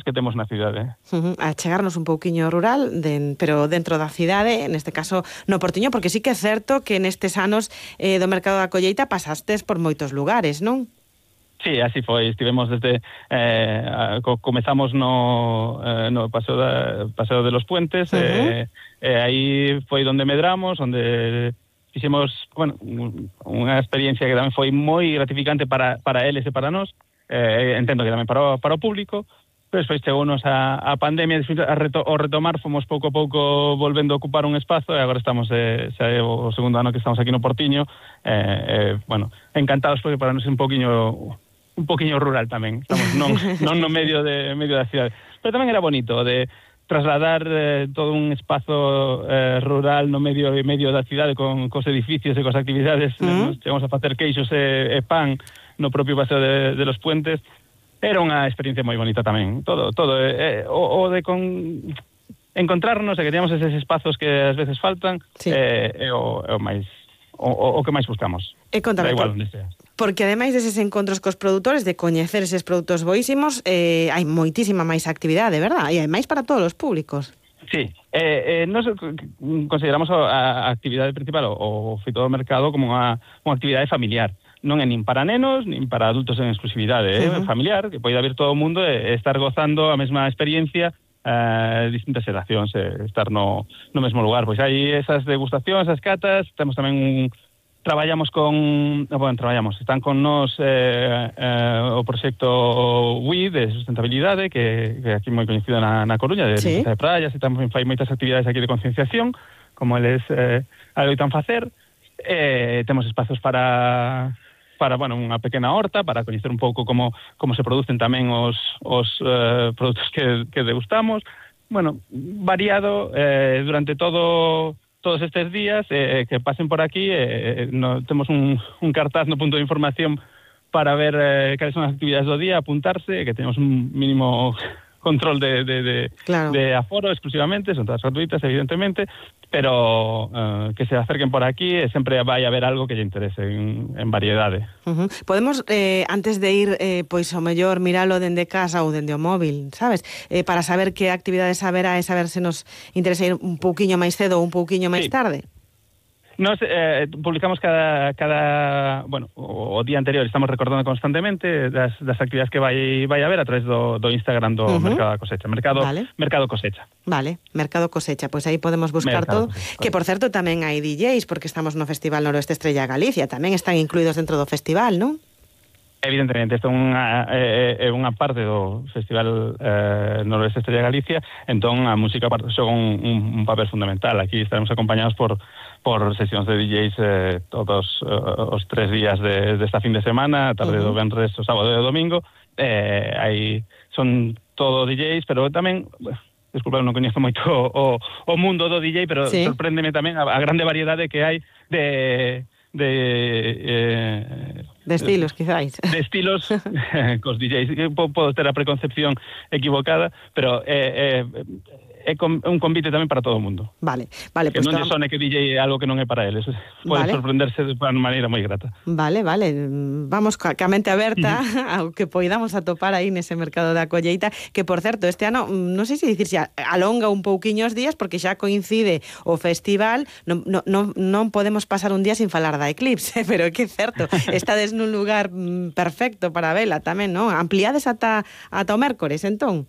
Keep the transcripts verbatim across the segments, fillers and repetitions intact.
que temos na cidade. Uh-huh. A chegarnos un pouquiño rural, de, pero dentro da cidade, neste caso no Portiño, porque sí que é certo que nestes anos eh, do Mercado da Colleita pasastes por moitos lugares, non? Sí, así foi, estivemos desde eh, co comezamos no eh, no paseo da paseo de los Puentes, uh-huh. eh, eh, aí foi onde medramos, onde fixemos, bueno, unha experiencia que tamén foi moi gratificante para para eles e para nós, eh, entendo que tamén para o, para o público, pero despois chegounos a, a pandemia, despois a reto, o retomar fomos pouco a pouco volvendo a ocupar un espazo e agora estamos, eh, xa é o segundo ano que estamos aquí no Portiño, eh, eh, bueno, encantados porque para nos é un poquinho un poquinho rural tamén, estamos non, non no medio de medio da cidade, pero tamén era bonito de trasladar eh, todo un espazo eh, rural no medio e medio da cidade con cos edificios e cos actividades, uh-huh. nos chegamos a facer queixos e, e pan no propio paseo de, de los Puentes. Era unha experiencia moi bonita tamén, todo todo eh, o, o de con encontrarnos e que teníamos eses espazos que ás veces faltan, sí. eh, é o, é o máis o, o que máis buscamos. E contame, da igual onde sea. Porque ademais deses encontros cos produtores, de coñecer eses produtos boísimos, eh, hai moitísima máis actividade, verdad? E hai máis para todos os públicos. Sí, eh, eh, nos consideramos a, a actividade principal, o, o feito do mercado, como unha, unha actividade familiar. Non é nin para nenos, nin para adultos en exclusividade, é uh-huh. familiar, que pode haber todo o mundo e estar gozando a mesma experiencia eh, distintas xeracións, eh, estar no, no mesmo lugar. Pois hai esas degustacións, esas catas, temos tamén un... Traballamos con, bueno, traballamos, están con nos eh, eh, o proxecto W I de sustentabilidade, que, que aquí moi coñecido na, na Coruña, de, sí. de praias, e tamén fai moitas actividades aquí de concienciación, como eles eh, adoitan facer. Eh, temos espazos para, para bueno, unha pequena horta, para coñecer un pouco como, como se producen tamén os, os eh, produtos que, que degustamos. Bueno, variado eh, durante todo... todos estes días, eh, que pasen por aquí, eh, no, temos un, un cartaz no punto de información para ver eh, cales son as actividades do día, apuntarse, que tenemos un mínimo control de, de, de, claro. de aforo exclusivamente, son todas gratuitas, evidentemente, pero uh, que se acerquen por aquí e sempre vai haber algo que lle interese en, en variedade. Uh-huh. Podemos, eh, antes de ir, eh, pois o mellor miralo dende casa ou dende o móvil, sabes? Eh, para saber que actividades haberá e saber se nos interesa ir un pouquiño máis cedo ou un pouquiño máis sí. tarde. Nos eh, publicamos cada, cada bueno, o, o día anterior, estamos recordando constantemente das, das actividades que vai, vai haber a través do, do Instagram do uh-huh. Mercado da Cosecha, Mercado, vale. Mercado Cosecha. Vale, Mercado Cosecha, pois pues aí podemos buscar Mercado todo, Cosecha, que por certo tamén hai D Js, porque estamos no Festival Noroeste Estrella Galicia, tamén están incluídos dentro do festival, non? Evidentemente, isto é unha, é, é unha parte do Festival eh, Noroeste Estrella Galicia, entón a música xoga un, un, un papel fundamental. Aquí estaremos acompañados por, por sesións de D Js eh, todos uh, os tres días de, de esta fin de semana, tarde uh-huh. do venres, o sábado e o domingo. Eh, aí son todo D Js, pero tamén... Desculpa, non coñezo moito o, o mundo do D J, pero sí. sorpréndeme tamén a, a grande variedade que hai de... de eh, de estilos, quizáis. De estilos cos D Js. Podo ter a preconcepción equivocada, pero é, é, é un convite tamén para todo o mundo. Vale, vale. Que pues non lle sone que D J é algo que non é para eles. Pode vale. sorprenderse de unha maneira moi grata. Vale, vale. Vamos ca mente aberta ao que poidamos atopar aí nese Mercado da Colleita, que, por certo, este ano, non sei se dicir xa, alonga un pouquiño os días, porque xa coincide o festival, non, non, non podemos pasar un día sin falar da eclipse, pero é que é certo, estades nun lugar perfecto para vela tamén, non? Ampliades ata, ata o mércores, entón?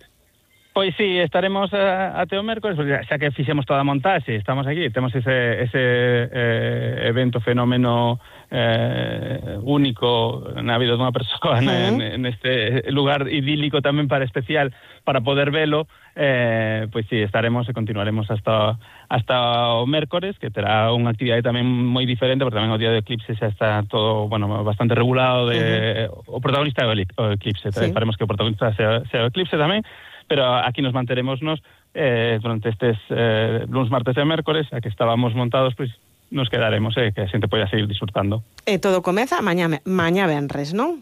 Pois sí, estaremos a, até o mércores, xa que fixemos toda a montaxe, estamos aquí, temos ese, ese eh, evento, fenómeno eh, único na vida dunha persoa, uh-huh. en, en este lugar idílico tamén para especial, para poder velo, eh, pois sí, estaremos e continuaremos hasta, hasta o mércores, que terá unha actividade tamén moi diferente, porque tamén o día do eclipse xa está todo, bueno, bastante regulado, de, uh-huh. o protagonista é o eclipse, sí. Faremos que o protagonista sea, sea o eclipse tamén, pero aquí nos manteremosnos eh, durante estes eh, luns, martes e mércores, a que estábamos montados, pois nos quedaremos, eh, que a xente poida seguir disfrutando. E todo comeza mañá, mañá venres, non?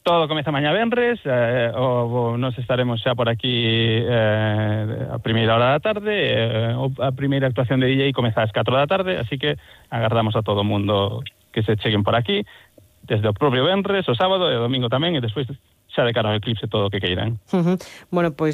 Todo comeza mañá venres, eh, o, o nos estaremos xa por aquí eh, a primeira hora da tarde, eh, a primeira actuación de D J comeza ás catro da tarde, así que agardamos a todo o mundo que se cheguen por aquí, desde o propio venres, o sábado e o domingo tamén, e despois xa de cara ao eclipse todo o que queiran. Uh-huh. Bueno, pois